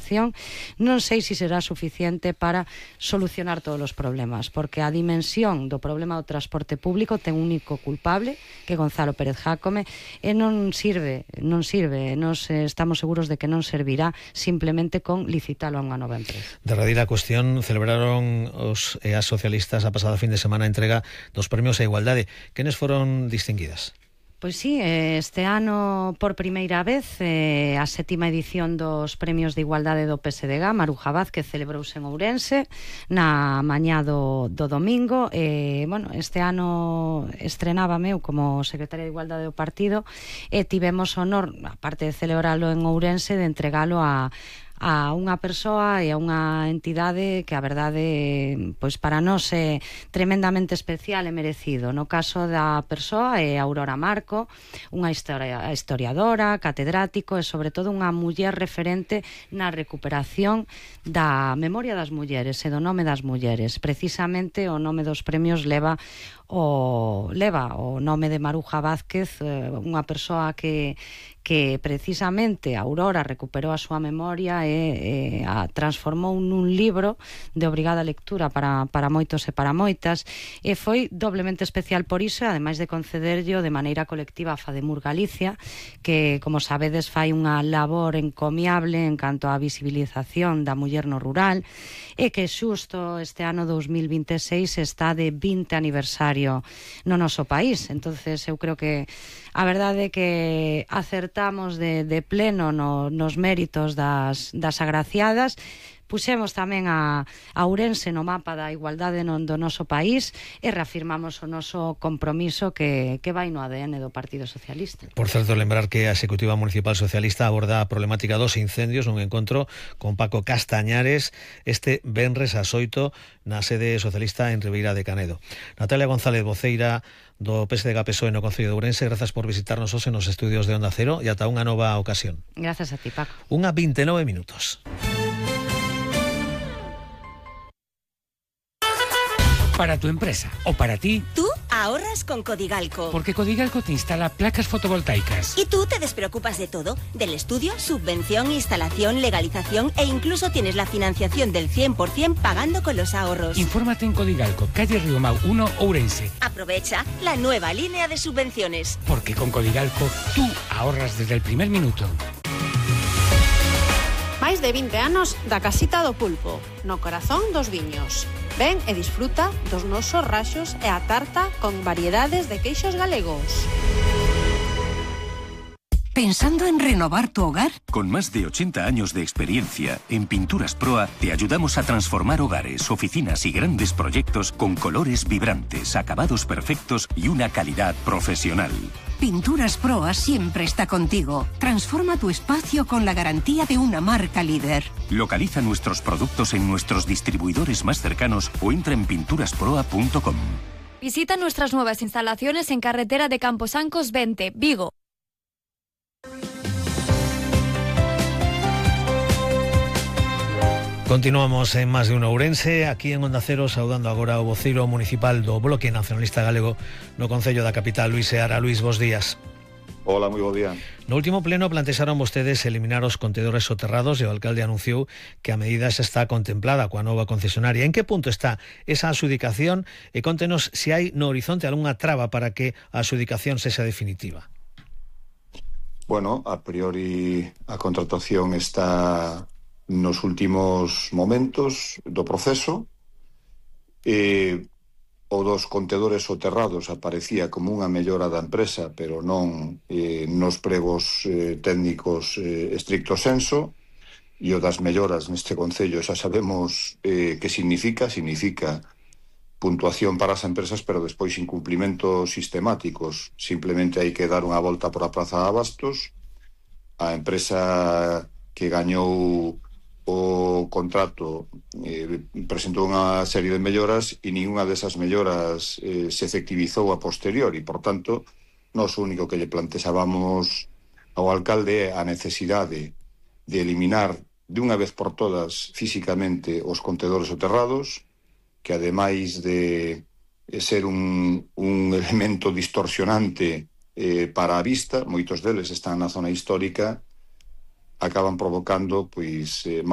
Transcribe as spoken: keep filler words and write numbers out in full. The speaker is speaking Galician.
recuperación, non sei se será suficiente para solucionar todos os problemas, porque a dimensión do problema do transporte público ten un único culpable, que é Gonzalo Pérez Jácome, e non sirve, non sirve, nos estamos seguros de que non servirá simplemente con licitalo a unha nova empresa. Derradeira cuestión, celebraron os e as socialistas a pasada fin de semana a entrega dos premios a igualdade. Quenes foron distinguidas? Pois sí, este ano por primeira vez eh, a sétima edición dos Premios de Igualdade do P S D G, Maruja Vázquez, celebrouse en Ourense na mañá do, do domingo. E, bueno, este ano estrenábame eu como secretaria de Igualdade do partido e tivemos honor, aparte de celebralo en Ourense, de entregalo a a unha persoa e a unha entidade que a verdade, pois para nós é tremendamente especial e merecido. No caso da persoa é Aurora Marco, unha historia, historiadora, catedrático e sobre todo unha muller referente na recuperación da memoria das mulleres e do nome das mulleres. Precisamente o nome dos premios leva o leva o nome de Maruja Vázquez, unha persoa que que precisamente a Aurora recuperou a súa memoria e, e a transformou nun libro de obrigada lectura para, para moitos e para moitas, e foi doblemente especial por iso, ademais de concederllo de maneira colectiva a FADEMUR Galicia, que, como sabedes, fai unha labor encomiable en canto á visibilización da muller no rural, e que xusto este ano dous mil vinte e seis está de vinte aniversario no noso país. Entonces eu creo que a verdade é que acertamos de, de pleno no, nos méritos das, das agraciadas. Puxemos tamén a, a Ourense no mapa da igualdade no, do noso país e reafirmamos o noso compromiso que, que vai no A D N do Partido Socialista. Por certo, lembrar que a Executiva Municipal Socialista aborda a problemática dos incendios nun encontro con Paco Castañares este venres ás oito na sede socialista en Ribeira de Canedo. Natalia González, voceira do P S D G P S O E no Concello de Ourense, grazas por visitarnos hoxe nos estudios de Onda Cero e ata unha nova ocasión. Grazas a ti, Paco. Unha vinte e nove minutos. Para tu empresa o para ti. Tú ahorras con Codigalco. Porque Codigalco te instala placas fotovoltaicas. Y tú te despreocupas de todo, del estudio, subvención, instalación, legalización e incluso tienes la financiación del cien por cien pagando con los ahorros. Infórmate en Codigalco, calle Riomau uno, Ourense. Aprovecha la nueva línea de subvenciones. Porque con Codigalco tú ahorras desde el primer minuto. Máis de vinte anos da Casita do Pulpo, no corazón dos viños. Ven e disfruta dos nosos raxos e a tarta con variedades de queixos galegos. ¿Pensando en renovar tu hogar? Con más de ochenta años de experiencia, en Pinturas Proa te ayudamos a transformar hogares, oficinas y grandes proyectos con colores vibrantes, acabados perfectos y una calidad profesional. Pinturas Proa siempre está contigo. Transforma tu espacio con la garantía de una marca líder. Localiza nuestros productos en nuestros distribuidores más cercanos o entra en pinturas proa punto com. Visita nuestras nuevas instalaciones en carretera de Camposancos veinte, Vigo. Continuamos en Más de Uno Ourense, aquí en Onda Cero, saudando agora o voceiro municipal do Bloque Nacionalista Galego no Concello da Capital, Luís Seara. Luís, bos días. Hola, moi bo día. No último pleno plantexaron vostedes eliminar os contedores soterrados e o alcalde anunciou que a medida xa está contemplada coa nova concesionaria. En que punto está esa adxudicación e contenos se hai no horizonte algunha traba para que a adxudicación sexa definitiva? Bueno, a priori a contratación está nos últimos momentos do proceso. E o dos contedores soterrados aparecía como unha mellora da empresa, pero non eh, nos pregos eh, técnicos eh, estricto senso, e o das melloras neste concello xa sabemos eh, que significa, significa puntuación para as empresas, pero despois incumplimentos sistemáticos. Simplemente hai que dar unha volta por a Praza de Abastos. A empresa que gañou o contrato eh, presentou unha serie de melloras e ninguna desas melloras eh, se efectivizou a posteriori. Por tanto, nós o único que lle plantexábamos ao alcalde é a necesidade de eliminar de unha vez por todas físicamente os contedores soterrados, que ademais de ser un, un elemento distorsionante eh, para a vista, moitos deles están na zona histórica, acaban provocando pois eh,